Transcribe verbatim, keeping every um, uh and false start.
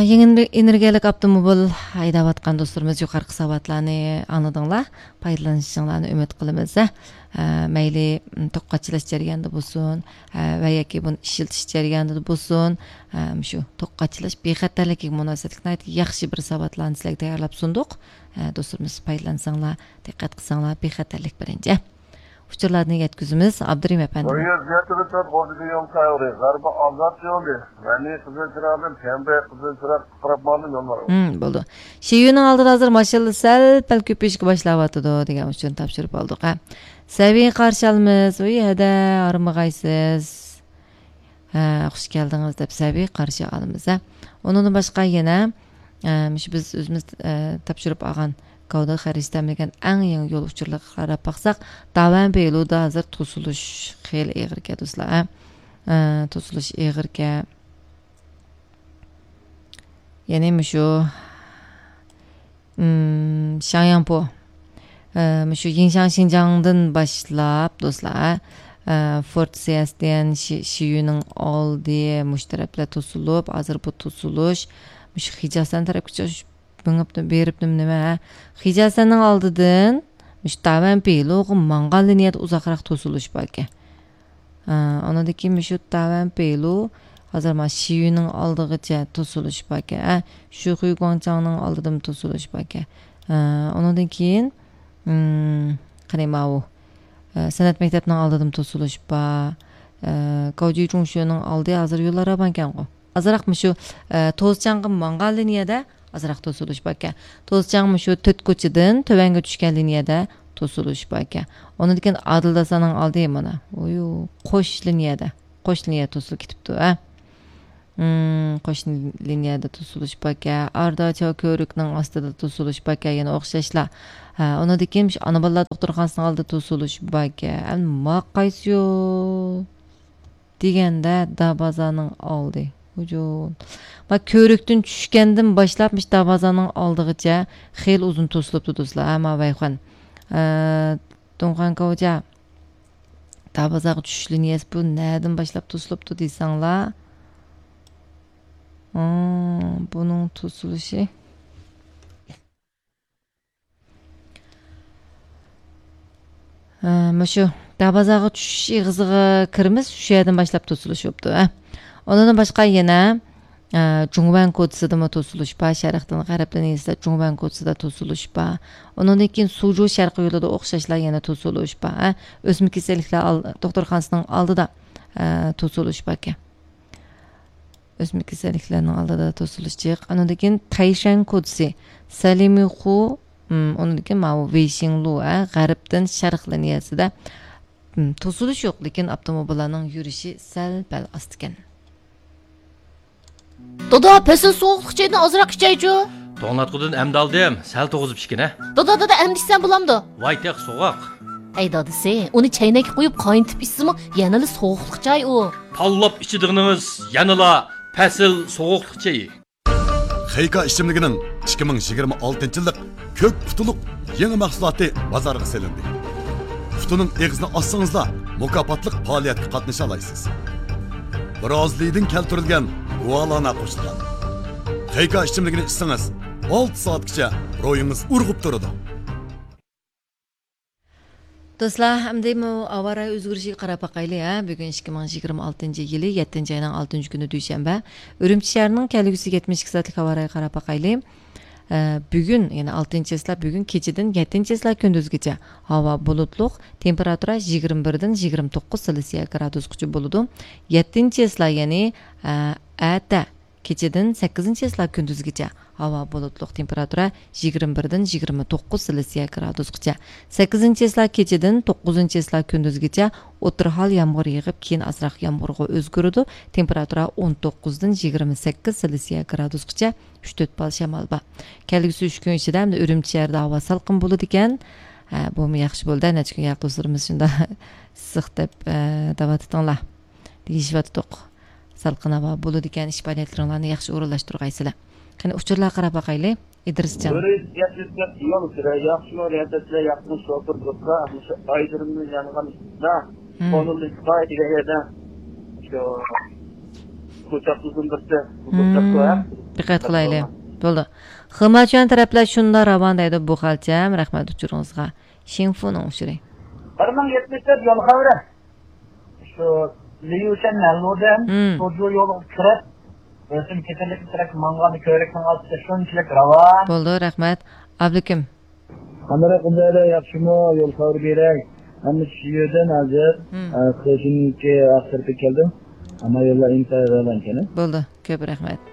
يېڭى ئېنېرگىيەلىك ئاپتوموبىل ھەيدەۋاتقان دوستلىرىمىز يۇقىرىقى ساۋاتلارنى ئاڭلىدىڭلار. پايدىلىنىشىڭلارنى ئۈمىد قىلىمىز. ئە، مەيلى، م، توك قاچىلاش جەريانىدا بولسۇن، ئە، ۋە ياكى بۇنى ئىشلىتىش جەريانىدا بولسۇن، ئە، مۇشۇ توك قاچىلاش بىخەتەرلىكىگە مۇناسىۋەتلىك ناھايىتى ياخشى بىر ساۋاتلارنى سىلەرگە تەييارلاپ سۇندۇق. ئە، دوستلىرىمىز پايدىلانساڭلار، دىققەت قىلساڭلار، بىخەتەرلىك بىرىنچى. ئۇچۇرلارنى يەتكۈزىمىز، ئابدۇرېھىم ئەپەندى. بۇ يەر زىيارەت قىلىشتا بولدى دېگەن سايغۇرى، غەربىي ئازاد يولى، غەنى قىزىل چىراغدىن، پەمبە قىزىل چىراغ قاراپ ماڭدىم يوللارغا. ھىم، بولدى. شىيۈنىڭ ئالدىدا ھازىر ماشىنىلار سەل پەل كۆپىيىشكە باشلاۋاتىدۇ دېگەن ئۇچۇرنى تاپشۇرۇپ ئالدۇق، ھە. سەبىي قارشى ئالىمىز، ۋىي ھەدە، ھارمىغايسىز. ھە، خۇش كەلدىڭىز دەپ سەبىي قارشى ئالىمىز، ھە. ئۇنىڭدىن باشقا يەنە، ئە، مۇشۇ بىز ئۆزىمىز، ئە، تاپشۇرۇپ ئالغان گاۋدا خەرىجى تەمىنلىگەن ئەڭ يېڭى يول ئۇچۇرلىرىغا قاراپ باقساق، داۋەن بېيلۇدا ھازىر توسۇلۇش خېلى ئېغىركەن، دوستلار، ھە. ئە، توسۇلۇش ئېغىركەن. يەنى مۇشۇ، ئىم، شياڭياڭپو، ئە، مۇشۇ يىڭشاڭ شىنجاڭدىن باشلاپ، دوستلار، ئە، فورت سېيەستيەن شى-، شىيۈنىڭ ئالدى مۇشۇ تەرەپلەر توسۇلۇپ، ھازىر بۇ توسۇلۇش مۇشۇ خىجاسەن تەرەپكىچە مېڭىپتۇ، بېرىپتۇ نېمە، ھە؟ خىجاسەننىڭ ئالدىدىن مۇشۇ داۋەن بېيلۇغا ماڭغان لىنىيەدە ئۇزاقراق توسۇلۇش باركەن. ئا، ئۇنىڭدىن كېيىن مۇشۇ داۋەن بېيلۇ، ھازىر مانا شىيۈنىڭ ئالدىغىچە توسۇلۇش باركەن. ئە، شۇخۇي گۇاڭچاڭنىڭ ئالدىدىمۇ توسۇلۇش باركەن. ئا، ئۇنىڭدىن كېيىن، ئىم، قېنى ماۋۇ، ئە، سەنئەت مەكتەپنىڭ ئالدىدىمۇ توسۇلۇش بار. ئە، گاۋجۈي جۇڭشۈنىڭ ئالدى ھازىر يوللار راۋانكەنغۇ. ئازراق مۇشۇ، ئە، توزچاڭغا ماڭغان لىنىيەدە ئازراق توسۇلۇش باركەن. توزچاڭ مۇشۇ تۆت كوچىدىن تۆۋەنگە چۈشكەن لىنىيەدە توسۇلۇش باركەن. ئۇنىڭدىن كېيىن ئادىلداساننىڭ ئالدى مانا، ئۇيۇ، قوش لىنىيەدە، قوش لىنىيە توسۇلۇپ كېتىپتۇ، ھە. ئىم، قوش لىنىيەدە توسۇلۇش باركەن. ئاردا چاۋ كۆۋرۈكنىڭ ئاستىدا توسۇلۇش باركەن، يەنە ئوخشاشلا. ھە، ئۇنىڭدىن كېيىن مۇشۇ ئانا بالىلار دوختۇرخانىسىنىڭ ئالدىدا توسۇلۇش باركەن. ئەمما ما قايسى يول؟ دېگەندە دابازانىڭ ئالدى. ھۇجۇم. ما كۆۋرۈكتىن چۈشكەندىن باشلاپ مۇشۇ دابازانىڭ ئالدىغىچە خېلى ئۇزۇن توسۇلۇپتۇ، دوستلار. ھە، ما ۋەيخۇەن. ئە، دۇڭخۇەن كاۋجا. دابازاغا چۈشۈش لىنىيەسى بۇ نەدىن باشلاپ توسۇلۇپتۇ دېسەڭلار. ئا، بۇنىڭ توسۇلۇشى. ھە، مۇشۇ دابازاغا چۈشۈش ئېغىزىغا كىرىمىز، شۇ يەردىن باشلاپ توسۇلۇش بوپتۇ، ھە. ئۇنىڭدىن باشقا يەنە، ھە، جۇڭۋەن كوچىسىدىمۇ توسۇلۇش بار، شەرقتىن غەربتىن ئېيتسا جۇڭۋەن كوچىسىدا توسۇلۇش بار. ئۇنىڭدىن كېيىن سۇجۇ شەرقىي يولىدا ئوخشاشلا يەنە توسۇلۇش بار، ھە. ئۆسمە كېسەللىكلەر ئال-، دوختۇرخانىسىنىڭ ئالدىدا، ھە، توسۇلۇش باركەن. ئۆسمە كېسەللىكلەرنىڭ ئالدىدا توسۇلۇش جىق. ئانىڭدىن كېيىن تەيشەن كوچىسى، سەلىمىخۇ، ئۇنىڭدىن كېيىن ماۋۇ ۋېيشىڭلۇ، ھە، غەربتىن شەرق لىنىيەسىدە، توسۇلۇش يوق، لېكىن ئاپتوموبىللارنىڭ يۈرۈشى سەل پەل ئاستىكەن. دادا، پەسىل سوغۇقلۇق چايدىن ئازراق ئىچەيچۇ. توڭلاتقۇدىن ئەمدى ئالدىم، سەل توغۇزۇپ ئىچكىنە. دادا، دادا، ئەمدى ئىچسەم بولامدۇ؟ ۋاي تېخى سوغۇق. ئەي دادىسى، ئۇنى چەينەككە قويۇپ قاينىتىپ ئىچسىمۇ يەنىلا سوغۇقلۇق چاي ئۇ. تاللاپ ئىچىدىغىنىڭىز يەنىلا پەسىل سوغۇقلۇق چېيى. خېيكا ئىچىملىكىنىڭ ئىككى مىڭ يىگىرمە ئالتىنچى يىللىق كۆك پۇتۇلۇق يېڭى مەھسۇلاتى بازارغا سېلىندى. پۇتۇنىڭ ئېغىزىنى ئاچسىڭىزلا، مۇكاپاتلىق پائالىيەتكە قاتنىشالايسىز. برازىلىيىدىن كەلتۈرۈلگەن گۇالانا قوشۇلغان. خېيكا ئىچىملىكىنى ئىچسىڭىز، ئالتە سائەتكىچە روھىڭىز ئۇرغۇپ تۇرىدۇ. دوستلار، ئەمدى مۇ-، ھاۋا رايى ئۆزگىرىشىگە قاراپ باقايلى، ھە. بۈگۈن ئىككى مىڭ يىگىرمە ئالتىنچى يىلى يەتتىنچى ئاينىڭ ئالتىنچى كۈنى، دۈشەنبە. ئۈرۈمچى شەھىرىنىڭ كەلگۈسى يەتمىش ئىككى سائەتلىك ھاۋا رايىغا قاراپ باقايلى. ئە، بۈگۈن، يەنى ئالتىنچى چىسلا، بۈگۈن كېچىدىن يەتتىنچى چىسلا كۈندۈزگىچە ھاۋا بۇلۇتلۇق، تېمپېراتۇرا يىگىرمە بىردىن يىگىرمە توققۇز سېلسىيە گرادۇسقىچە بولىدۇ. يەتتىنچى چىسلا، يەنى، ئە، ئەتە كېچىدىن سەككىزىنچى چىسلا كۈندۈزگىچە ھاۋا بۇلۇتلۇق، تېمپېراتۇرا يىگىرمە بىردىن يىگىرمە توققۇز سېلسىيە گرادۇسقىچە. سەككىزىنچى چىسلا كېچىدىن توققۇزىنچى چىسلا كۈندۈزگىچە ئوتتۇرا ھال يامغۇر يېغىپ، كېيىن ئازراق يامغۇرغا ئۆزگىرىدۇ. تېمپېراتۇرا ئون توققۇزدىن يىگىرمە سەككىز سېلسىيە گرادۇسقىچە، ئۈچ تۆت بال شامال بار. كەلگۈسى ئۈچ كۈن ئىچىدە ئەمدى ئۈرۈمچى شەھىرىدە ھاۋا سالقىن بولىدىكەن. ھە، بۇمۇ ياخشى بولدى. نەچچە كۈن ياق دوستلىرىمىز شۇنداق ئىسسىق دەپ، ئە، دەۋاتىتىڭلار. دېيىشىۋاتىدۇق. سالقىن ھاۋا بولىدىكەن، ئىش پائالىيەتلىرىڭلارنى ياخشى ئورۇنلاشتۇرغايسىلەر. قېنى ئۇچۇرلارغا قاراپ باقايلى، ئىدرىسجان. بىرى يەتمىش تۆت يول سۈرە، ياخشىمۇ رىياسەتچىلەر، ياخشىمۇ شوپۇر دوستلار، مۇشۇ ئايدىرىمنى يانغان ئىشتا، مم. قولۇمدىن چىقاي دېگەن يەردە شۇ كوچاقلىدىن بىرسى، مم. كوچاقلىق. دىققەت قىلايلى. بولدى. خېماچۈەن تەرەپلەر شۇنداق راۋان دەيدۇ بۇ خەلچەم. رەھمەت ئۇچۇرىڭىزغا. شىڭفۇنىڭ ئۇچۇرى. بىر مىڭ يەتمىش تۆت يول خەۋىرى. شۇ ليۇشەن ھەللۇدىن مم. سوجۇ يولىغا كىرىپ، رەسىم كېسەللىكى تەرەپ ماڭغان كۆۋرۈكنىڭ ئاستىدا شۇنچىلىك راۋان. بولدى، رەھمەت. ئابلىكىم. قانداق ئۇندايدا ياخشىمۇ؟ يول خەۋىرى بېرەي. مەن شۇ يەردىن ھازىر، مم. ئە، خېجىنكى ئاق تەرەپكە كەلدىم. ئەمما يوللار ئىنتايىن راۋان ئىكەن. بولدى، كۆپ رەھمەت.